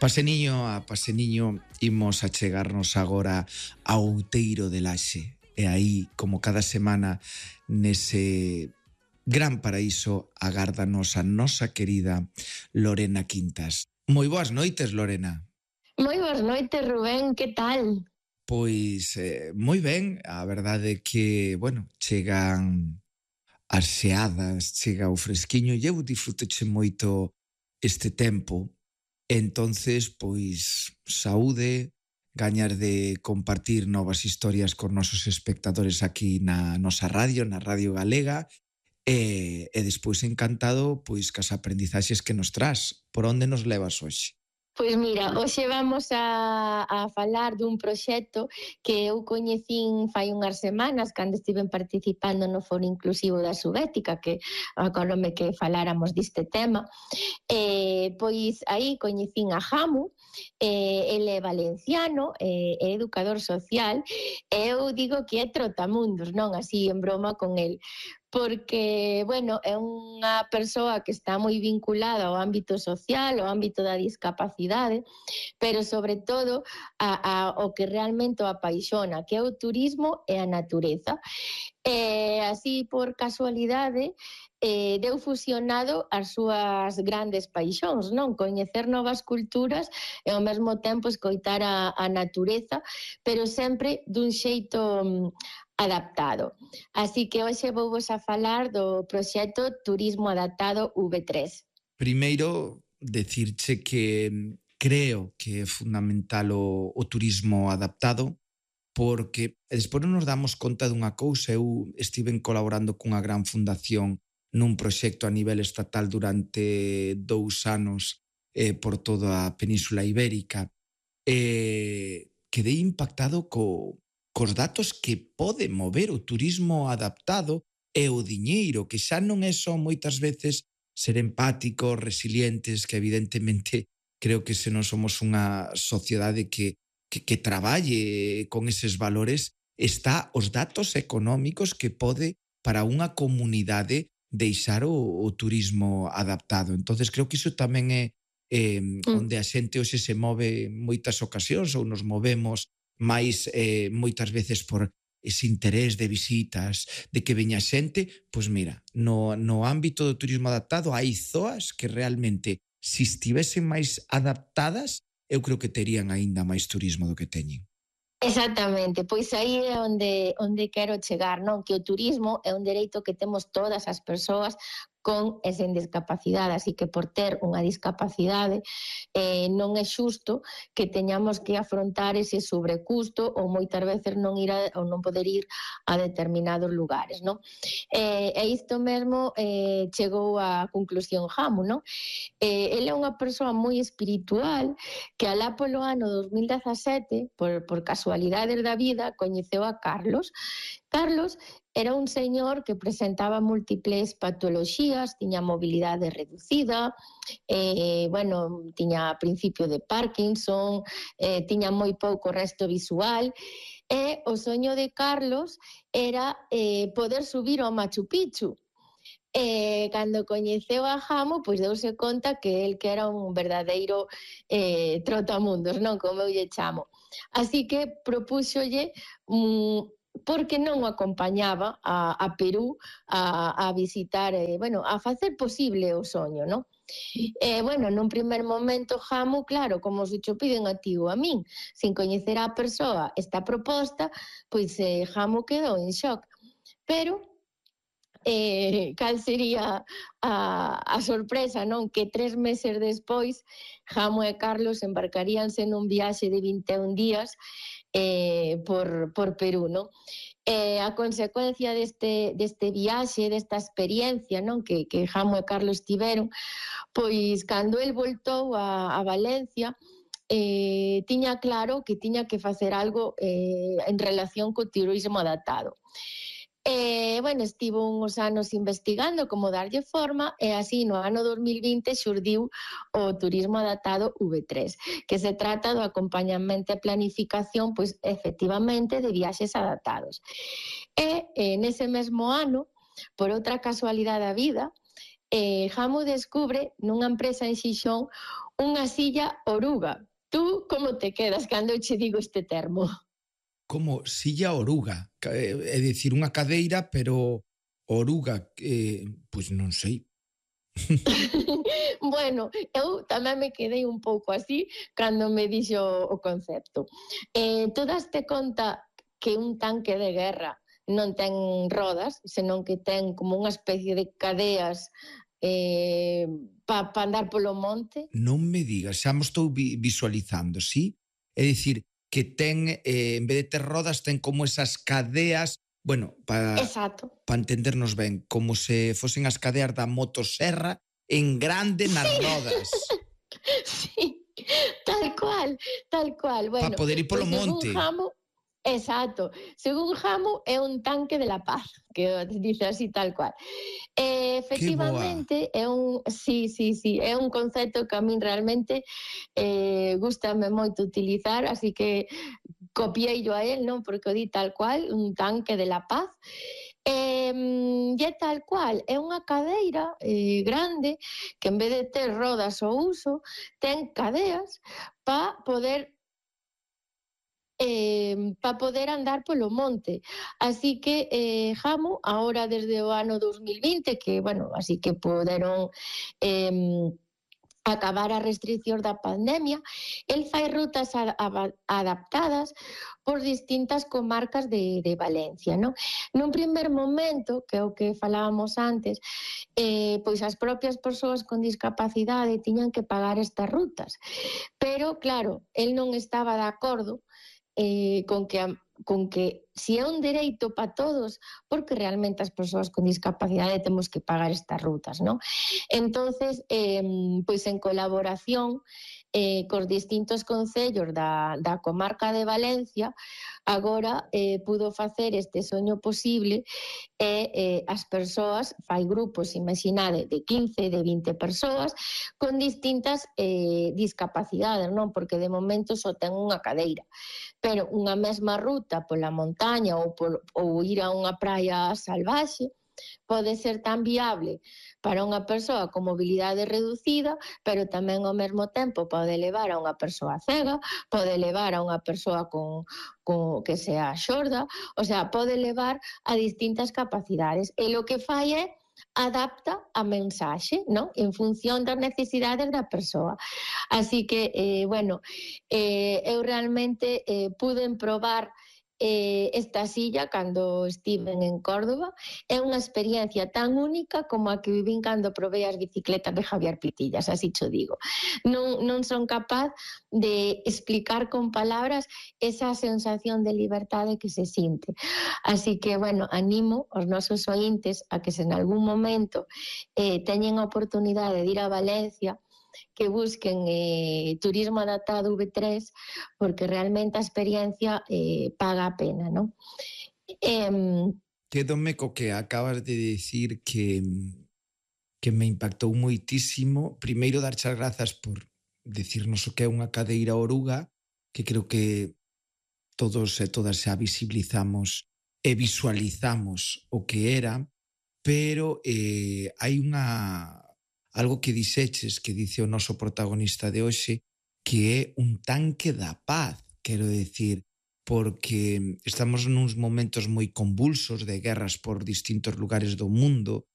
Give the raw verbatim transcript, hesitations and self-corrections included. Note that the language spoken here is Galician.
Paseniño a paseniño imos a chegarnos agora ao Outeiro de Laxe. E aí, como cada semana, nese gran paraíso, agárdanos a nosa querida Lorena Quintas. Moi boas noites, Lorena. Moi boas noites, Rubén, que tal? Pois eh, moi ben, a verdade é que, bueno, chegan as xeadas, chega o fresquiño e eu disfrutoche moito este tempo. Entonces, pois, saúde, gañar de compartir novas historias con nosos espectadores aquí na nosa radio, na Radio Galega, e, e despois encantado pois cas aprendizaxes que nos tras. Por onde nos levas hoxe? Pois mira, hoxe vamos a, a falar dun proxecto que eu coñecín fai unhas semanas cando estiven participando no Foro Inclusivo da Subética, que acordome que faláramos deste tema. Eh, pois aí coñecín a Jamu, eh, ele é valenciano, eh, é educador social, e eu digo que é trotamundos, non así en broma con el, porque, bueno, é unha persoa que está moi vinculada ao ámbito social, ao ámbito da discapacidade, pero sobre todo a, a, o que realmente o apaixona, que é o turismo e a natureza. E así, por casualidade, eh, deu fusionado as súas grandes paixóns, non? Coñecer novas culturas e ao mesmo tempo escoitar a, a natureza, pero sempre dun xeito adaptado. Así que hoxe vou vos a falar do proxecto Turismo Adaptado V tres. Primeiro, decirche que creo que é fundamental o, o turismo adaptado, porque despois non nos damos conta dunha cousa. Eu estiven colaborando cunha gran fundación nun proxecto a nivel estatal durante dous anos eh, por toda a Península Ibérica. E quedei impactado co, cos datos que pode mover o turismo adaptado e o diñeiro, que xa non é só moitas veces ser empáticos, resilientes, que evidentemente creo que se non somos unha sociedade que, que, que traballe con eses valores, está os datos económicos que pode para unha comunidade deixar o, o turismo adaptado. Entonces creo que iso tamén é eh, mm. onde a xente hoxe se move moitas ocasións ou nos movemos máis eh, moitas veces por ese interés de visitas, de que veña xente. Pois mira, no, no ámbito do turismo adaptado hai zoas que realmente, se estivesen máis adaptadas, eu creo que terían aínda máis turismo do que teñen. Exactamente, pois aí é onde, onde quero chegar, non? Que o turismo é un dereito que temos todas as persoas con e sen discapacidade, así que por ter unha discapacidade eh, non é xusto que teñamos que afrontar ese sobrecusto ou moitas veces non ir a, ou non poder ir a determinados lugares, non? Eh, e isto mesmo eh, chegou á conclusión Jamu, non? Eh, ele é unha persoa moi espiritual que alá polo ano dos mil dezasete, por, por casualidades da vida, coñeceu a Carlos. Carlos era un señor que presentaba múltiples patoloxías, tiña mobilidade reducida, eh, bueno, tiña principio de Parkinson, eh, tiña moi pouco resto visual, e o soño de Carlos era eh, poder subir ao Machu Picchu. E cando coñeceu a Jamu, pois deuse conta que el que era un verdadeiro eh, trotamundos, non? Como eu lle chamo. Así que propúxolle un... Mm, porque non o acompañaba a, a Perú a, a visitar, eh, bueno, a facer posible o soño, non? E, bueno, nun primer momento, Jamu, claro, como se cho piden a ti ou a min, sin coñecer a persoa esta proposta, pois eh, Jamu quedou en shock. Pero, eh, cal sería a, a sorpresa, non? Que tres meses despois, Jamu e Carlos embarcaríanse nun viaxe de vinte e un días Eh, por, por Perú, non? Eh, a consecuencia deste, deste viaxe, desta experiencia, non? Que, que Jamu e Carlos tiveron, pois cando el voltou a, a Valencia, eh, tiña claro que tiña que facer algo eh, en relación co turismo adaptado. E, bueno, estivo uns anos investigando como darlle forma e así no ano dos mil vinte xurdiu o turismo adaptado V tres, que se trata do acompañamento e planificación, pois, efectivamente, de viaxes adaptados. E, e nese mesmo ano, por outra casualidade da vida, eh, Jamo descubre nunha empresa en Xixón unha silla oruga. Tú como te quedas cando che digo este termo? Como silla oruga, é dicir, unha cadeira, pero oruga, eh, pois non sei. Bueno, eu tamén me quedei un pouco así cando me dixo o concepto. Eh, tú daste conta que un tanque de guerra non ten rodas, senón que ten como unha especie de cadeas eh, para pa andar polo monte? Non me digas, xa mo estou vi visualizando, sí? É dicir, que ten, eh, en vez de ter rodas, ten como esas cadeas, bueno, para Exacto. pa entendernos ben, como se fosen as cadeas da motosserra en grande nas Sí, rodas. sí, tal cual, tal cual. Pa Bueno, poder ir polo pois según monte. Jamo, exacto, según Jamo é un tanque de la paz, que dice así tal cual. Eh, Que boa. efectivamente, é un, sí, sí, sí, é un concepto que a min realmente eh, gustame moito utilizar, así que copiei-lo a él, non? Porque o di tal cual, un tanque de la paz. E, e é tal cual, é unha cadeira eh, grande que en vez de ter rodas ao uso, ten cadeas para poder eh, para poder andar polo monte. Así que eh, Jamo, ahora desde o ano dos mil vinte, que, bueno, así que poderon eh, acabar as restriccións da pandemia, el fai rutas a, a, adaptadas por distintas comarcas de, de Valencia, non? Nun primer momento, que é o que falábamos antes, eh, pois as propias persoas con discapacidade tiñan que pagar estas rutas. Pero, claro, el non estaba de acordo eh, con que a, con que si é un dereito para todos, porque realmente as persoas con discapacidade temos que pagar estas rutas, non? Entonces, eh, pois en colaboración eh, cos distintos concellos da, da comarca de Valencia, agora eh, pudo facer este soño posible e eh, as persoas, fai grupos, imaginade, de quince, de vinte persoas con distintas eh, discapacidades, non? Porque de momento só ten unha cadeira, pero unha mesma ruta pola montaña ou, por, ou ir a unha praia salvaxe pode ser tan viable para unha persoa con mobilidade reducida, pero tamén ao mesmo tempo pode levar a unha persoa cega, pode levar a unha persoa con, con que sea xorda, o sea, pode levar a distintas capacidades. E o que fai é adapta a mensaxe, non? En función das necesidades da persoa. Así que, eh, bueno, eh, eu realmente eh, pude probar eh, esta silla cando estiven en Córdoba. É unha experiencia tan única como a que vivín cando probei as bicicletas de Javier Pitillas, así cho digo. Non, non son capaz de explicar con palabras esa sensación de libertade que se sinte. Así que, bueno, animo aos nosos ointes a que se en algún momento eh, teñen a oportunidade de ir a Valencia, que busquen eh, turismo adaptado V tres, porque realmente a experiencia eh, paga a pena, non? Eh, Quédome co que acabas de dicir que, que me impactou moitísimo. Primeiro, darche as grazas por decirnos o que é unha cadeira oruga, que creo que todos e todas xa visibilizamos e visualizamos o que era, pero eh, hai unha algo que dixeches, que dice o noso protagonista de hoxe, que é un tanque da paz, quero decir, porque estamos nuns momentos moi convulsos de guerras por distintos lugares do mundo,